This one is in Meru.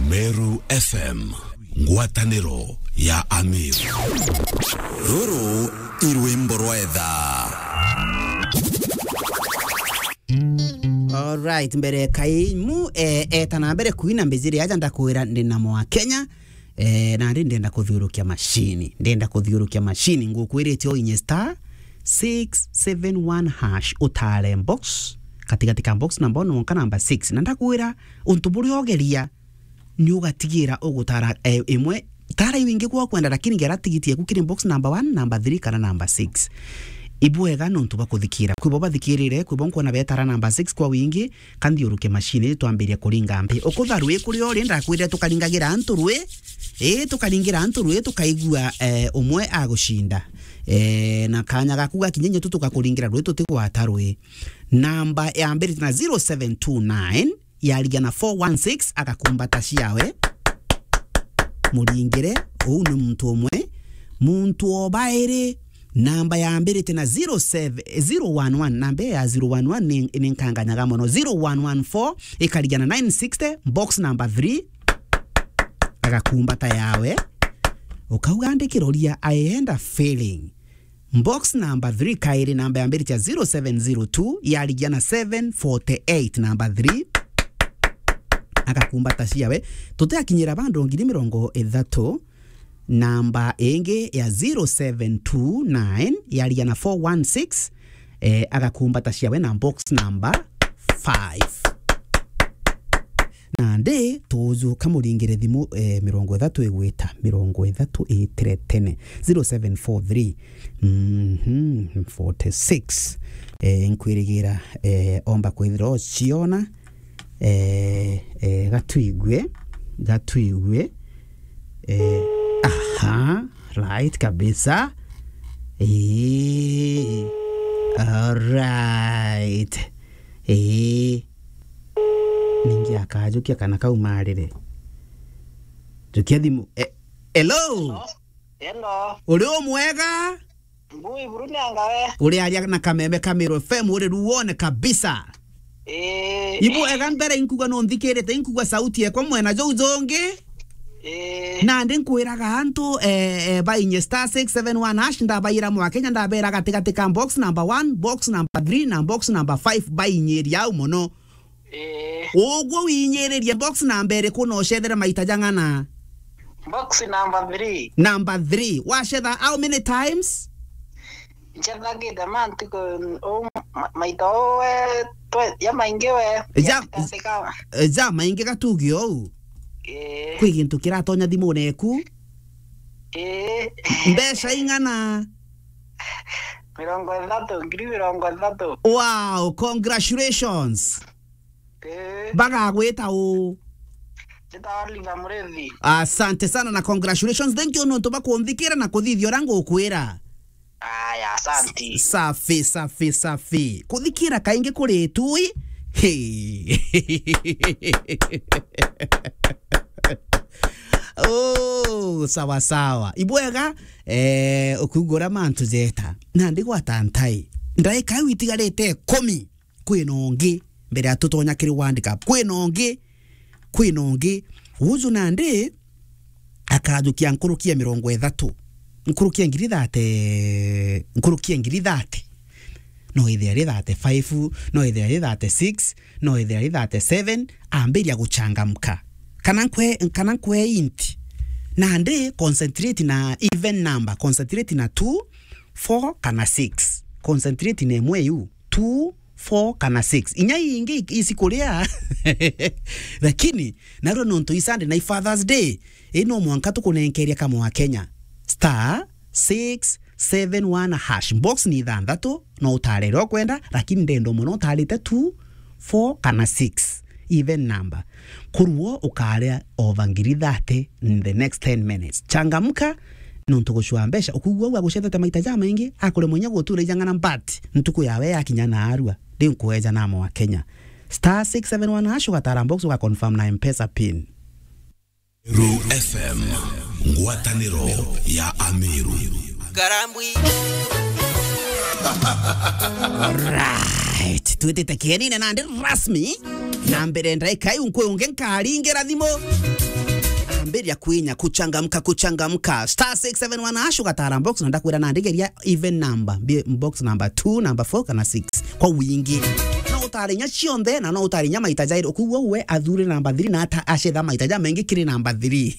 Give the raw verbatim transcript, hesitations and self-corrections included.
Meru F M, ngwataniro ya Amiru. Ruru i rwimbo rwa etha. Alright, mbere kaimu, eh, eta na mbere kuina mbijiri aja ndakwira ndi na mwa Kenya, eh, na ndi ndenda kuthiurukia mashini, ndenda kuthiurukia mashini, ngukwirite o inye star six seven one hash, utare box, katigati ka box number one wonka number six, na ndakwira untu buria ogeria, ni ugatigira ugutara, eh, imwe, tara iu ingi kwa kwenda, lakini gera tigiti yaku kiri box number one, number three kana number six. Ibwega nontu bwa kuthikira. Kwi bo bathikirire, kwi bo nkwona betara number six kwa wingi, ka nthiuruke mashini, twambiria kuringa mpi. Ukutha rwi kuri uri, ndakwirire tukaringagira antu rwi, ii, tukaringira antu rwi, tukaigua, eh, umwe agucinda. Eh, na kanya gaku gakinya, inye tu tugakuringira rwi, tutigwata rwi. Namba yambirite na zero seven two nine, yarigia na four one six, agakumbata ciawe. Muringire, uu ni muntu umwe. Muntu o bairi, namba yambirite na zero seven, zero one one, namba ya zero one one ni, ni nkanganyaga mono. Zero one one four, ikarigia na nine sixty, box number three, agakumbata yawe. Ukauga, "Ndikiroria, I end up failing." Box number three, kairi namba yambiritie ya zero seven zero two, yarigia na seven forty eight, number three. Agakumbata ciawe. Tutiakinyira bandu ngiri mirongo ithatu, namba ingi ya zero seven two nine, yarigia na four one six, eh, agakumbata ciawe na box number five. Nandi tujuka muringire thimu, eh, mirongo ithatu igwita, mirongo ithatu itire tene, zero seven four three, mhm, forty six. Eh, nkwirigira, eh, omba kwithira ociona, eh, eh, gatwigue, gatwigue, eh, aha, right kabisa. Eh, alright. Eh. Ningi akajukia kana kaumarire. Jukia thimu. Eh, hello? Hello. Uri o mwega? Ngui buru ni anga we? Uri aria na kameme ka Meru F M, uri ruone kabisa. Eh. Ibu ega mbere inkuga no nthikirite, inkuga sauti ekwa mwena jou jongi. Eh. Nandi nkwiraga antu, eh, eh, bainye star six seven one hash, ndabaira mwa Kenya, ndabera gatigati ka box number one, box number three na box number five, bainyiria au mono. Eh. Uguo winyiririe box number iriku na ucethere maita jang'ana? Box number three. Number three. Wacetha how many times? Ncethagite ma ntuku, u, ma, maita u we, twe, ja maingi we. Ja, ja maingi gatugi ou. Eh. Kwi gintu kiratonya thimune eku? Eh. Mbeca ing'ana? Mirongo ithatu, ngiri mirongo ithatu. Wow, congratulations. Eh. Bagagwita u? Njitawa Oliver Murithi. Asante sana na congratulations. Thank you nontu bakunthikira na kuthithia uria ngukwira. Aya, asanti. Safi, safi, safi. Kuthikira kaingi kuri itui. Hey. Oh, sawa sawa. Ibwega, eh, ukugura mantu jeta. Nandi gwata ntai. Ndaika iu itigarite ikumi. Kwina ungi, mbere ya tutonya kiri World Cup, kwina ungi, kwina ungi. Uju nandi akajukia nkuruki ya mirongo ithatu, nkuruki ya ngiri thate, nkuruki ya ngiri thate. No ithia ri thate five, no ithia ri thate six, no ithia ri thate seven, ambiria guchangamka. Kana nkwe, kana nkwe int. Nandi concentrate na even number, concentrate na two, four kana six. Concentrate na imwe iu, two, four kana six. Inya ingi isi kuria. Lakini, narua nontu i Sunday na i Father's Day, i no mwanka tukunenkeria kamwe wa Kenya. Star six seven one hash. Box ni ithanthatu, no utarere ukwenda, lakini ndendo mono utarite two, four kana six. Even number. Kuruo ukaria over ngiri thate in the next ten minutes. Changamka, nontu gucua mbeca, ukugua uu agucethete maita jamaingi, akuremwa inya gutura ijang'ana, but ntuku yawe yakinya na arua, riu nkueja na mwa Kenya. Star six seven one hash, ugatara box, ugaconfirm na M-Pesa pin. Meru F M, ngwataniro ya Ameru. Karambwi. Alright, twitite kienine nandi rasmi. Na mbere ndaika iu nkwi ungi nkaringira thimu. Ambĩria kwinya, kuchangamka, kuchangamka. Star six seven one hash, ugatara box, na ndakwira na ndigeria even number. Bi-, box number two, number four, kana six. Kwa wingi. No utarinya cionthe, na no utarinya maita jairi. Ukuuga we athure number three, na ata-, acetha maita ja mengi kiri number three.